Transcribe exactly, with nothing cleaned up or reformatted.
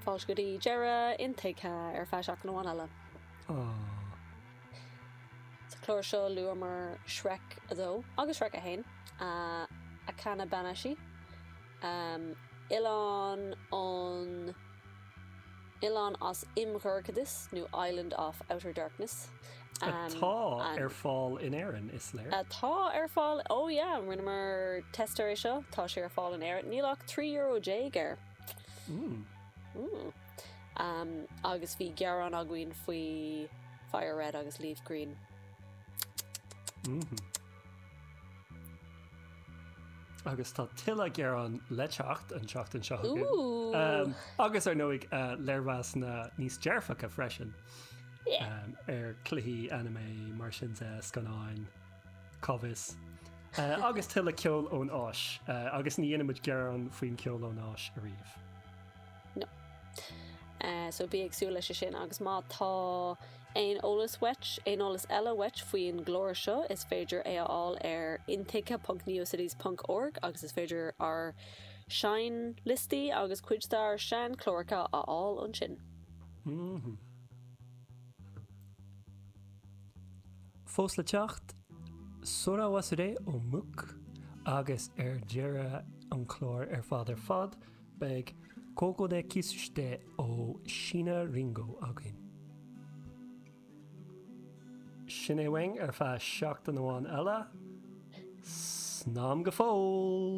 Fáilte go dtí deireadh Intuigthe ar feadh seachtain amháin eile. Sa chlár seo luamar Shrek a dó agus Shrek a haon, Akane Banashi, Oileán an Oileán as Imdhorchadas nó Island of Outer Darkness. Atá ar fáil in Éirinn is léir. Atá ar fáil ó yeah, rinneamar test air seo tá sé ar fáil in Éirinn níl ach trí euro déag air. Mm. Mm. Um, agus bhí gearán againn faoi Fire Red agus Leaf Green. Mm -hmm. Agus tá tuilleadh gearán le teacht an tseachtain seo chugainn. Um, agus ar ndóigh uh, léirmheasanna níos dearfacha freisin. Yeah. Um, ar chluichí anime mar sin de scannáin cá bhfios. Uh, agus tuilleadh ceol ón Áis uh, agus ní dhéanaimid gearán faoin ceol ón Áis ariamh. No. Uh, so bí ag súil leis sin agus má tá aon eolas uait aon eolas eile uait faoin gclár seo is féidir é a fháil ar intuigthe.neocities.org agus is féidir ár seinnliostaí agus cuid dár seanchláracha a fháil ansin. Mm -hmm. Fós le teacht, Sora Wasure ó Muk agus ar deireadh an chláir ar fad ar fad beidh Koko de Kisushite ó Shiina Ringo againn. Sin é uainn ar feadh seachtain amháin eile, Slán go fóill!